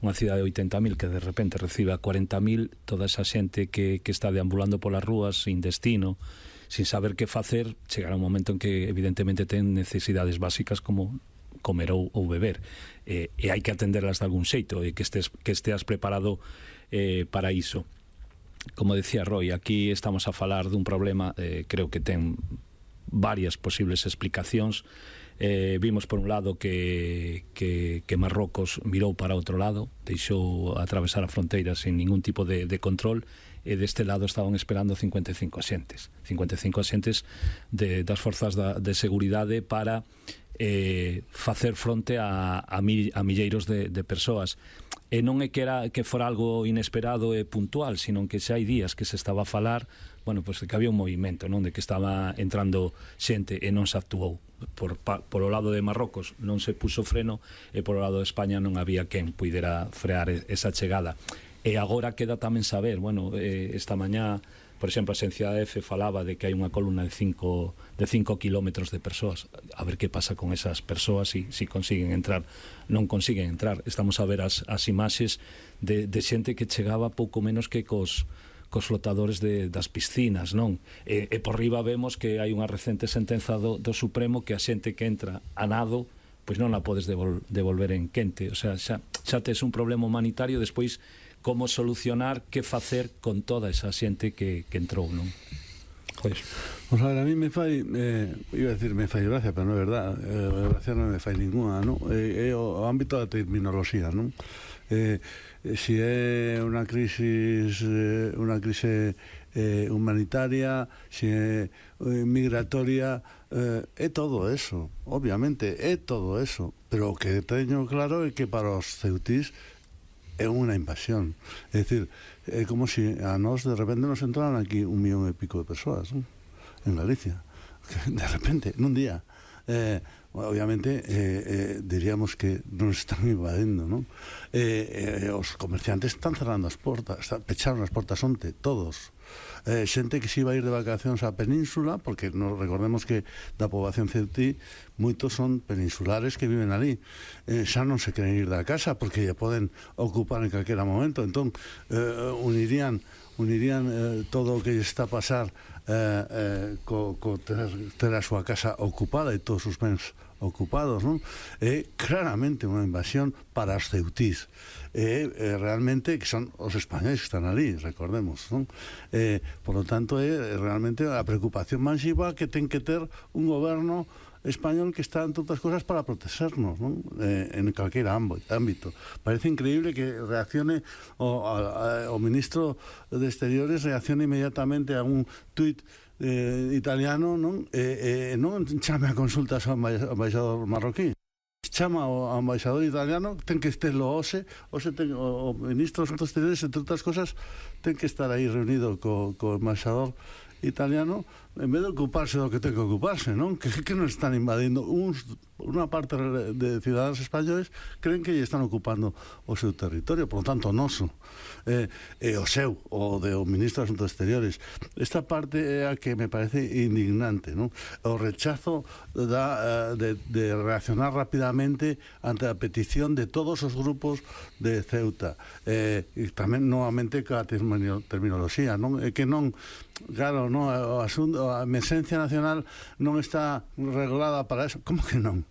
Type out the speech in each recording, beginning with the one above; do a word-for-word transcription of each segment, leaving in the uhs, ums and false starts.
unha cidade de oitenta mil que de repente recibe a cuarenta mil, toda esa xente que, que está deambulando polas rúas sin destino, sin saber que facer, chegará un momento en que evidentemente ten necesidades básicas como comer ou, ou beber, eh, e hai que atenderlas de algún xeito, e que estés, que esteas preparado eh, para iso. Como decía Roy, aquí estamos a falar dun problema, eh, creo que ten varias posibles explicacións. Eh, vimos por un lado que, que, que Marrocos mirou para outro lado, deixou atravesar a fronteira sin ningún tipo de, de control, e deste lado estaban esperando cincuenta e cinco axentes cincuenta e cinco axentes de, das forzas da, de seguridade para eh, facer fronte a, a, mi, a milleiros de, de persoas. E non é que, era, que fora algo inesperado e puntual, sino que xa hai días que se estaba a falar, bueno, pois pues, que había un movimento, non, de que estaba entrando xente e non se actuou. Por, por o lado de Marrocos non se puso freno, e por o lado de España non había quen puidera frear esa chegada. E agora queda tamén saber, bueno, eh, esta mañá, por exemplo, a Xencia E F falaba de que hai unha columna de cinco, de cinco kilómetros de persoas. A ver que pasa con esas persoas, si, si consiguen entrar. Non consiguen entrar. Estamos a ver as, as imaxes de, de xente que chegaba pouco menos que cos, cos flotadores de, das piscinas, non? E, e por riba vemos que hai unha recente sentenza do, do Supremo que a xente que entra a nado, pois non la podes devol, devolver en quente. O sea, xa, xa tes un problema humanitario, despois como solucionar, que facer con toda esa xente que, que entrou, non? Pois, pues, a ver, a mí me fai, eh, iba a decir me fai gracia, pero non é verdad, eh, gracia non me fai ninguna, non? É eh, eh, o, o ámbito da terminoloxía, non? Eh, eh, si é unha crisis, eh, unha crise eh, humanitaria, si é eh, migratoria, eh, é todo eso, obviamente, é todo eso, pero o que teño claro é que para os ceutís é unha invasión. É dicir, é como se a nós de repente nos entraran aquí un millón e pico de persoas, ¿no? En Galicia. De repente, nun día. Eh, obviamente, eh, eh, diríamos que nos están invadindo, ¿no? Eh, eh, os comerciantes están cerrando as portas, pecharon as portas onte, todos. Eh, xente que se iba a ir de vacacións á península, porque nos recordemos que da poboación ceutí moitos son peninsulares que viven ali, eh, xa non se queren ir da casa porque ya poden ocupar en calquera momento, entón eh, unirían unirían eh, todo o que está a pasar eh, eh, co, co ter, ter a súa casa ocupada e todos os bens ocupados, non? É claramente unha invasión para os ceutís. É, é realmente que son os españoles que están ali, recordemos, non? Eh, por lo tanto, é realmente a preocupación masiva que ten que ter un goberno español que está, entre outras cosas, para protegernos, non? Eh, en calquera ámbito. Parece increíble que reaccione o, a, a, o ministro de Exteriores reaccione inmediatamente a un tuit eh, italiano, non? Eh, eh, non chame a consultas ao embaixador marroquí, chama ao embaixador italiano, ten que estar lo OSE, OSE ten, o, o ministro dos Asuntos Exteriores, entre outras cosas, ten que estar aí reunido co, co embaixador italiano, en vez de ocuparse do que ten que ocuparse, non? Que, que nos están invadindo uns, unha parte de ciudadanos españoles creen que lle están ocupando o seu territorio, por lo tanto o noso eh, e o seu, o do ministro dos Asuntos Exteriores. Esta parte é a que me parece indignante, non? O rechazo da, de, de reaccionar rapidamente ante a petición de todos os grupos de Ceuta, eh, e tamén novamente ca terminoloxía, non? É que non, claro, non, o asunto, a emerxencia nacional non está regulada para eso. Como que non?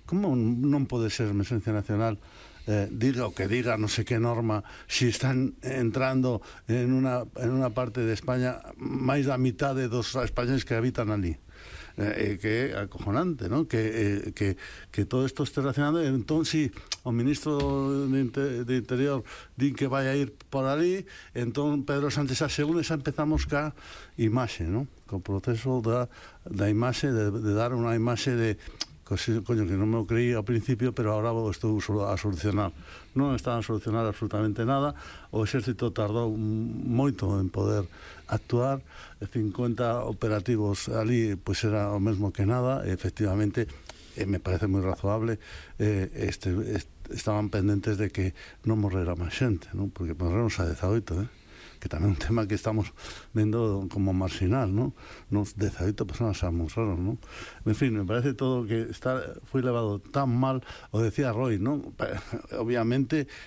Como non pode ser emerxencia nacional? Eh, diga o que diga, non sei que norma, si están entrando en unha, en unha parte de España máis da mitade dos españoles que habitan ali. Eh, que é acojonante, non? Que, eh, que, que todo isto este relacionado. Entón, si o ministro de, Inter, de Interior din que vai a ir por ali, entón Pedro Sánchez asegura, xa empezamos ca imaxe, non? Co proceso da, da imaxe, de, de dar unha imaxe de coño, que non me o creí ao principio, pero agora o estou a solucionar. Non estaban a solucionar absolutamente nada. O exército tardou moito en poder actuar, cincuenta operativos ali, pois era o mesmo que nada, e efectivamente eh, me parece moi razoable, eh, este, este, estaban pendentes de que non morrera máis xente, non? Porque morreron xa dezaoito, eh? Que tamén é un tema que estamos vendo como marginal, non? Nos dezaoito personas xa morreron, non? En fin, me parece todo que está, foi levado tan mal, o decía Roy, non? Obviamente